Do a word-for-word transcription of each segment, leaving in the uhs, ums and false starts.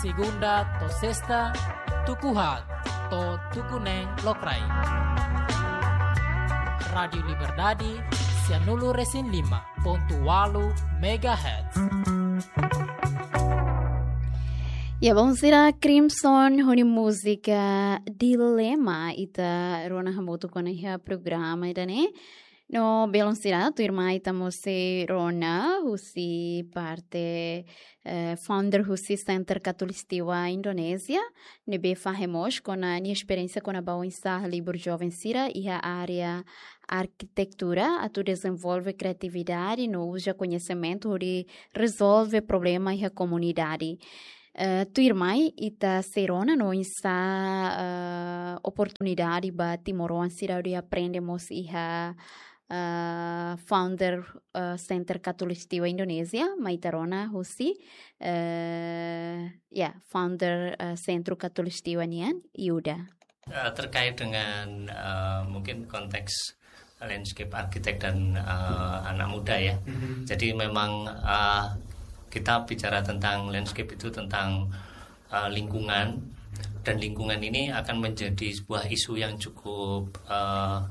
Segunda to'o sesta, tuku haat to'o tuku neen lokraik. Rádiu Liberdade, sianulu-resin-lima pontu ualu megahertz. Ya, bom, sira Crimson ho nia múzika Dilema ita rona hamutuk ona iha programa ida-ne'e. No belun sira, tuirmai ita mós sei rona husi parte, eh, founder husi Center Katolik Setiwa Indonézia, ne'ebé fahe mós kona-ba nia esperiénsia kona-ba oinsá halibur joven sira iha área arkitektura atu dezenvolve kriatividade no uza koñesimentu hodi rezolve problema iha komunidade. Eh, tuirmai ita sei rona no oinsá, eh, oportunidade ba timoroan sira hodi aprende mós iha, eh, founder, eh, Center Katolik Setiwa Indonézia, mai ita rona husi, eh, ya, founder, eh, Sentru Katolik Setiwa nian, Yuda. Eh, terkait dengan, eh, mungkin konteks landscape architect dan, eh, anak muda, ya. Mhm. Jadi memang, eh, kita bicara tentang landscape itu tentang, eh, lingkungan, dan lingkungan ini akan menjadi sebuah isu yang cukup, eh,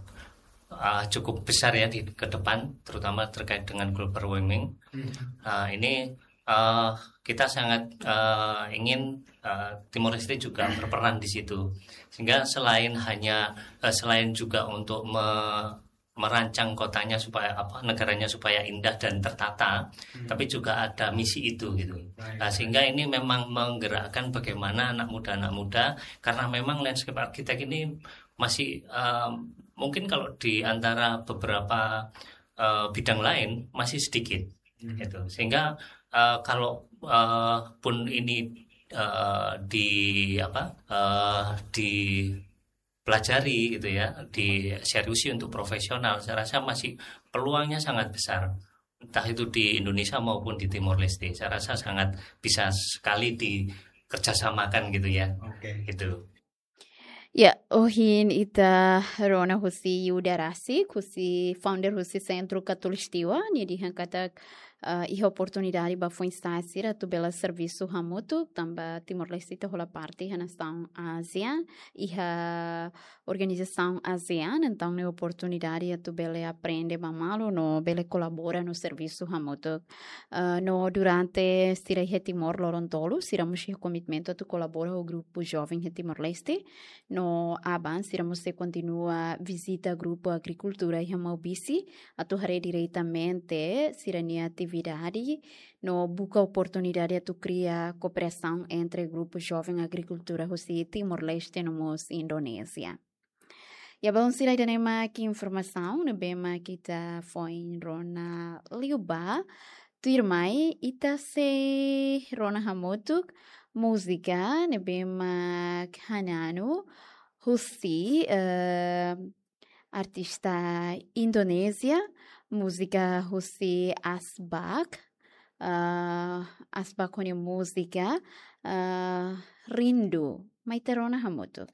eh, cukup besar, ya, di ke depan, terutama terkait dengan global warming. Mhm. Eh, ini eh, kita sangat, eh, ingin, eh, Timor Leste juga berperan di situ. Sehingga selain hanya, eh, selain juga untuk me-, merancang kotanya supaya, apa, negaranya supaya indah dan tertata, Hmm. tapi juga ada misi itu gitu. Baik. Nah, sehingga ini memang menggerakkan bagaimana anak muda-anak muda, karena memang landscape architect ini masih, eh, mungkin kalau di antara beberapa, eh, bidang lain masih sedikit. Hmm. Gitu. Sehingga, eh, kalau, eh, pun ini, eh, di, apa, eh, dipelajari gitu ya, diseriusi untuk profesional, saya rasa masih peluangnya sangat besar. Entah itu di Indonesia maupun di Timor Leste, saya rasa sangat bisa sekali dikerjasamakan gitu ya. Oke. Gitu. Ya, ohin ita rona husi Yuda rasik, husi founder husi Sentru Katolik Setiwa, nia dehan katak, eh, iha oportunidade ba foin-sa'e sira atu bele servisu hamutuk, tanba Timor-Leste ita hola parte iha nasaun ASEAN, iha organizasaun ASEAN, entaun ne'e oportunidade atu bele aprende ba malu no bele kolabora no servisu hamutuk. Eh, no durante sira iha Timor loron tolu, sira mós iha komitmentu atu kolabora ho grupu joven iha Timor-Leste. No aban, sira mós sei kontinua vizita grupu agrikultura iha Maubisse, atu haree diretamente sira-nia atividade, no buka oportunidade atu kria kooperasaun entre grupu joven agrikultura husi Timor-Leste no mós Indonézia. Ya, bom, sira, ida-ne'e mak informasaun ne'ebé mak ita foin rona liubá. Tuirmai, ita sei rona hamutuk múzika ne'ebé mak Hananu husi, eh, artista Indonézia, múzika husi Asbak, eh, Asbak ho nia múzika, eh, Rindu. Mai ita rona hamutuk.